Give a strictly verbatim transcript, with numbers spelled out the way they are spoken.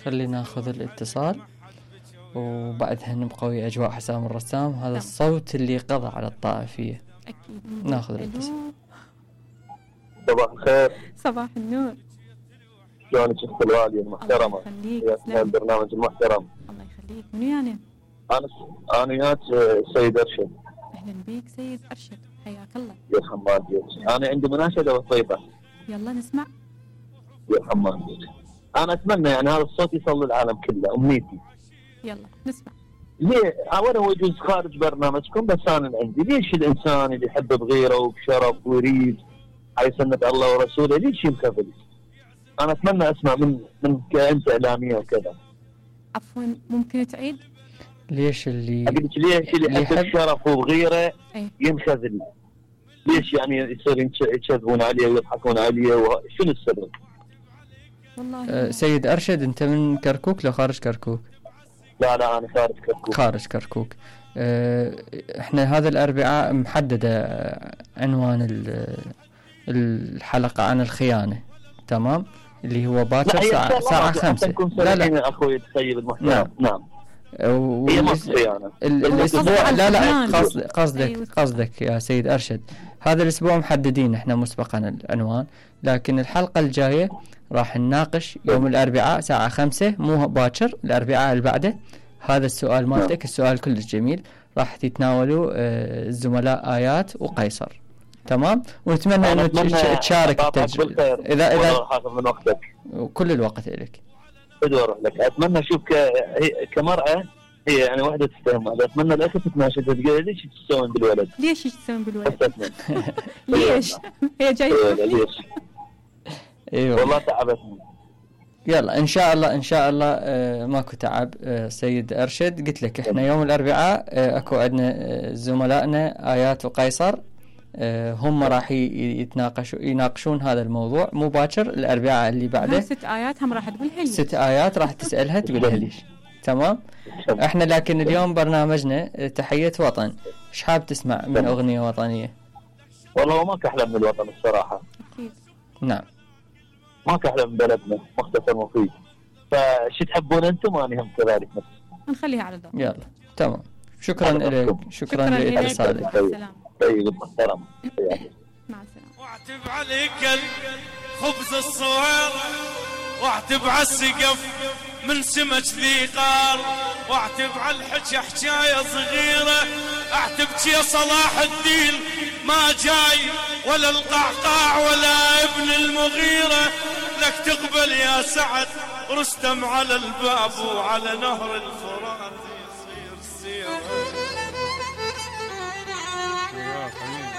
خلينا ناخذ الاتصال وبعدها نبقى ويا أجواء حسام الرسام. هذا الصوت اللي قضى على الطائفية. أكيد. ناخذ الاتصال. صباح الخير. صباح النور. شلونك اخت الوالية المحترمة؟ يا البرنامج المحترم. الله يخليك. منو يعني؟ أنا أنا ياك سيد أرشد. أهلا بيك سيد أرشد، حياك الله. يا حماد بيك. أنا عندي مناشدة بسيطة. يلا نسمع. يا حماد بيك. أنا أتمنى يعني هذا الصوت يصل للعالم كله، أمنيتي. يلا نسمع. ليه أولا هو يجوز خارج برنامجكم، بس أنا عندي ليش الإنسان اللي يحب بغيره وبشرف ويريد على سنة الله ورسوله ليش ينخذل؟ أنا أتمنى أسمع من من كأنت إعلامية وكذا. عفوا ممكن تعيد؟ ليش اللي أقول لك ليش اللي يحب الشرف وبغيره ايه؟ ينخذل؟ ليش يعني يصير يكذبون عليه ويضحكون عليه وشنو السبب؟ والله أه سيد أرشد أنت من كركوك لو خارج كركوك؟ لا لا أنا خارج كركوك. خارج كركوك. أه احنا هذا الأربعاء محددة عنوان الحلقة عن الخيانة، تمام؟ اللي هو باكر ساعة ساعة خمسة. لا لا أخوي تخيل المحتوى. نعم نعم. هي مصريانة. الأسبوع لا لا قصد قصدك قصدك يا سيد أرشد هذا الأسبوع محددين احنا مسبقا العنوان، لكن الحلقة الجاية راح نناقش يوم الأربعاء ساعة خمسة مو باكر، الأربعاء اللي بعده. هذا السؤال مالتك السؤال كلش جميل، راح تتناولوا الزملاء آيات وقيصر، تمام؟ ونتمنى أنه تشارك التجربة إذا إذا حافظ من وقتك وكل الوقت لك. بدي أروح لك. أتمنى أشوف كمرأة هي يعني واحدة تستهم هذا. أتمنى الأخت تتناشد تقول ليش تسوون بالولد؟ ليش تسوون بالولد؟ ليش؟ هي جاية ليش؟ ايوه والله تعبتني. يلا ان شاء الله ان شاء الله آه ماكو تعب. آه سيد أرشد قلت لك احنا يوم الأربعاء آه اكو عندنا آه زملائنا آيات وقيصر، آه هم راح يتناقشوا يناقشون هذا الموضوع مباشر الأربعاء اللي بعده. ست آيات هم راح تقولها لي. ست آيات راح تسألها تقولها ليش، تمام؟ احنا لكن اليوم برنامجنا تحية وطن، ايش حاب تسمع من أغنية وطنية؟ والله ما كحلم من الوطن الصراحة. أكيد. نعم. ما كحلم من بلدنا مختصر مفيد، فشي تحبون أنتم أنا هم كذلك نفس. نخليها على ذوق. يلا تمام. شكرا لك. شكرا لإرسالك. طيب محترم. مع السلامة. واعتب عليك خبز الصوير، واعتب على السقف من سمك ذي قار، واعتب على الحكي حكاية صغيرة، اعتب يا صلاح الدين ما جاي ولا القعقاع ولا ابن المغيرة، لك تقبل يا سعد رستم على الباب وعلى نهر الفرات يصير سيرة.